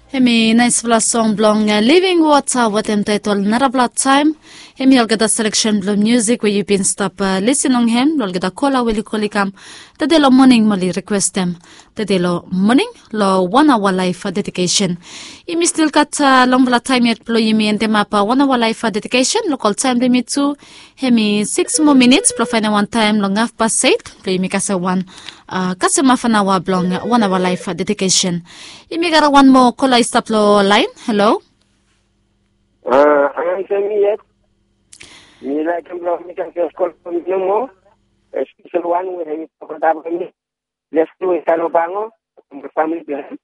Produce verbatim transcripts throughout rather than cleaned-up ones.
Hemi naisfala song blong living wata wetem taetol narafala taem. Hemi olgeta seleksen blong musik we yu bin stap lisin long hem long olgeta kola we oli kol i kam tede long moning mo oli rikwestem tede long moning long wan aoa laef dedikesen. Yumi stil gat longfala taem yet blong yumi endemap wan aoa laef dedikesen long ol taem blong yumi tu. Hemi sikis moa minits blong faenem wan taem long hafpas eit blong yumi kasem wan kasem hafanaoa blong wan aoa laef dedikesen. Yumi gat wan moa kola i stap long laen. Halo. A, ansem mi yet. Mi laekem blong mi kam fes kol blong mi nomo. Espesel wan we hemi tokotap blong mi. Leftu i stap long Pango. Famili blong hem.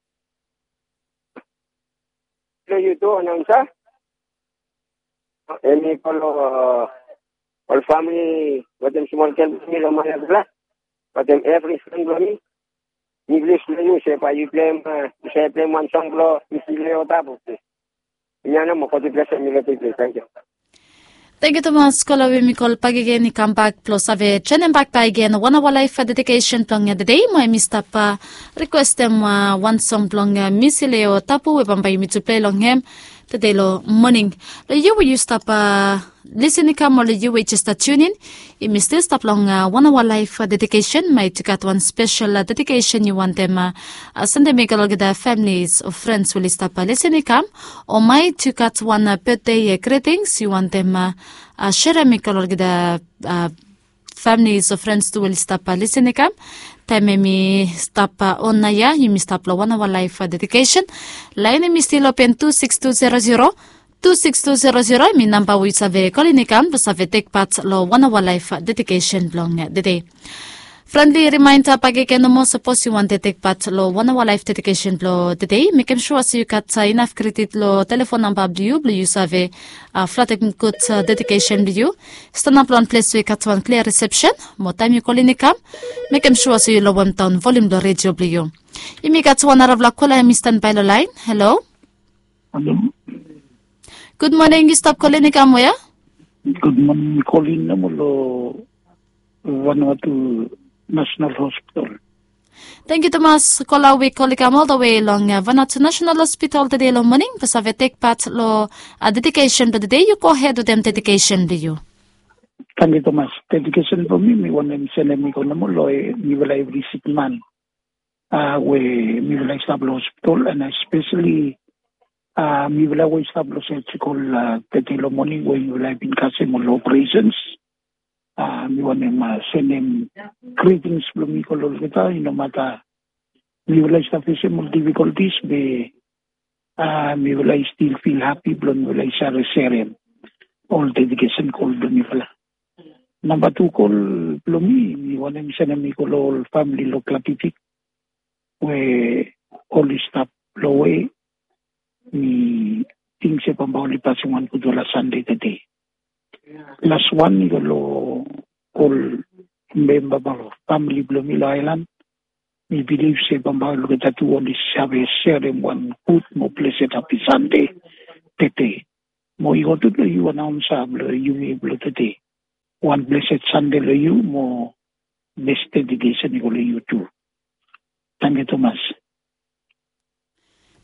Blong yu tu, anaonsa. Hemi kol ol famili wetem smol gel blong mi long Malakula wetem evri fren blong mi. Mi bilif long yu se bae yu pleim, yu save pleim wan song blong Misi Leo Tabu. Hemia nao mo God i blesem yu long tede. Tangkiu. Tangkiu tumas kola we yumi kol bakegen i kambak blong save joenem bak bakegen wan aoa laef dedikesen blong tede mo hemi stap rikwestem wan song blong Misi Leo Tabu we bambae yumi tu plei long hem tede long moning. Long yu we yu stap lisin i kam o long yu we jes stap tiunin, yumi stil stap long wan aoa laef dedikesen. Maet yu gat wan spesel dedikesen yu wantem sendem i go long olgeta familis o frens we oli stap lisin i kam, o maet yu gat wan betde gritings yu wantem serem i go long olgeta familis o frens tu we oli stap lisin i kam. Taem hemi stap on naoia, yumi stap long wan aoa laef dedikesen. Laen hemi stil open tu sikis tu zero zero, tu sikis tu zero zero hemi namba we yu save kolin i kam blong save tekpat long wan aoa laef dedikesen blong tede. Frendli rimaenda bakegen nomo, sapos yu wantem tekpat long wan aoa laef dedikesen blong tede, mekem sua se yu gat inaf kredit long telefon namba blong yu blong yu save flatem gud dedikesen blong yu. Stanap long wan ples we i gat wan klia risepsen, mo taem yu kolin i kam, mekem sua se yu lowemdaon volium blong redio blong yu. Yumi gat wan narafala kola hemi stanbae long laen. Halo. Halo. Gud moning, yu stap kolin i kam wea? Gud moning, mi kolin nomo long Vanuatu National Hospital. Tangkiu tumas kola we yu kol i kam oldawe long Vanuatu National Hospital tede long moning blong save tekpat long dedikesen blong tede. Yu gohed wetem dedikesen blong yu. Tangkiu tumas. Dedikesen blong mi mi wantem sendem i go nomo long mifala evri sikman we mifala i stap long hospital, and espeseli mifala we i stap long surgical tede long moning we mifala i bin kasem ol operations. Mi wantem sendem gritings blong mi go long olgeta, i no mata mifala i stap fesem ol difikoltis be mifala i stil fil hapi blong mifala i save serem ol dedikesen kol blong mifala. Namba tu kol blong mi, mi wantem sendem i go long ol famili long Klativik we oli stap lowe. Mi ting se bambae oli pasem wan gudfala Sande tede. Las wan i go long ol memba blong famili blong mi long aelan. Mi bilif se bambae olgeta tu oli save serem wan gud mo blesed hapi Sande tede. Mo i go tu long yu anaonsa blong yumi blong tede. Wan blesed Sande long yu mo bes dedikesen i go long yu tu. Tangkiu tumas.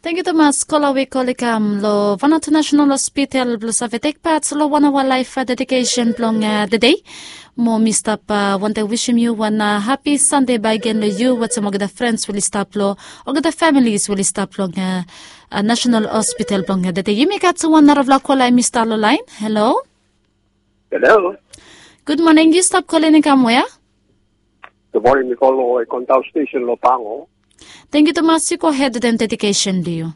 Tangkiu tumas kola we yu kol i kam long Vanuatu National Hospital blong save tekpat long wan aoa laef dedikesen blong tede. Mo mi stap wantem wisim yu wan hapi Sande bakegen long yu wetem olgeta frens we oli stap long olgeta familis we oli stap long National Hospital blong tede. Yumi gat wan narafala kola hemi stap long laen. Halo. Halo. Gud moning, yu stap kolin i kam wea? Gud moning, mi kol long Ekon Taon Stesen long Pango. Tangkiu tumas, yu gohed wetem dedikesen blong yu.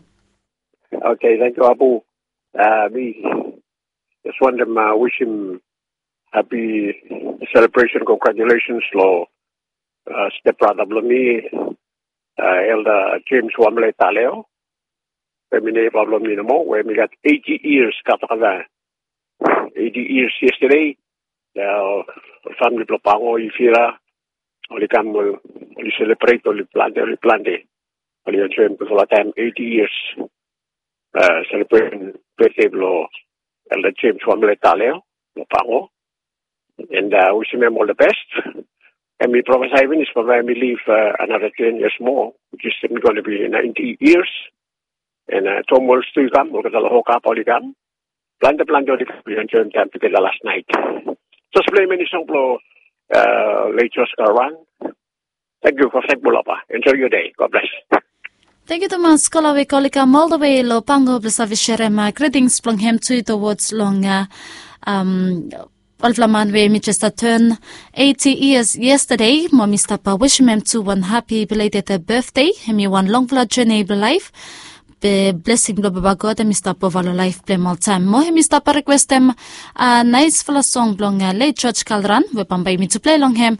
Oke, tangkiu Abu. Mi jes wantem wisim hapi selebresen, kongratulasens long stepbrata blong mi, Elda Jems Wamle Taleo. Hemi neiba blong mi nomo we hemi gat eiti yias, gat olgeta eiti yias yestede. Ol famili blong Pango, Ivira, oli kam, oli selebret, oli plante, oli plante. Oli enjoem gudfala taem, eiti yias selebresen betde blong Elda Jems Wamle Taleo long Pango. And wisim hem ol the best. Hemi profesae finis bambae hemi liv another ten years more, which is hemi gonna be ninety years. And Tom Wells tu i kam, olgeta long Hoka pa oli kam. Plante plante oli kam, oli enjoim taim tugeta las nait. Just play meni song blong Late Josh Karan. Thank you for Bulapa. Enjoy your day. God bless. Thank you tumas kola we kola i kam all the way lo Pango blong save sherem greetings blong hem tu towards long um, olfala man we mi just turn eighty years yesterday. Mo mi stap wishim hem tu wan happy belated birthday. Hem i wan longfala journey blong life. Be blessing blong Baba God hem i stap ova long laif blong hem oltaem. Mo hem i stap requestem naispela song blong Late George Kalran we bambae yumi tu plei long hem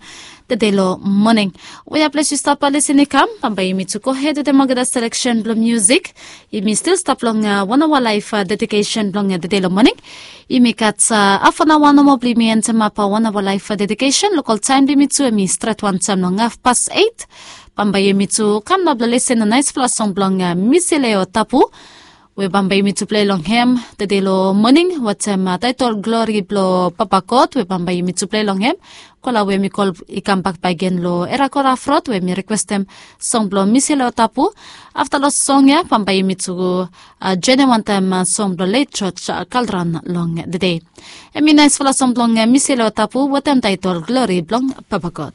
tede long moning. Wea ples yu stap lisin i kam, bambae yumi tu gohed wetem olgeta selection blong musik. Yumi stil stap long wan awa laif dedikesen blong tede long moning. Yumi gat haf an awa nomo blong yumi entemap wan awa laif dedikesen. Lokol taem blong yumi tu hem i stret wantaem long hafpas eit. Bambae yumi tu kam nao blong lisin long naispela song blong Misileo Tapu we bambae yumi tu plei long hem tede long moning wetem taetol Glori blong Papa God we bambae yumi tu plei long hem. Kola we mi kol i kambak bakegen long Era Kora Frot we mi rekwestem song blong Misileo Tapu. Afta long song ya bambae yumi tu jonem wantaem song blong Late George Kalran long tede. Hem i naispela song blong Misileo Tapu wetem taetol Glori blong Papa God.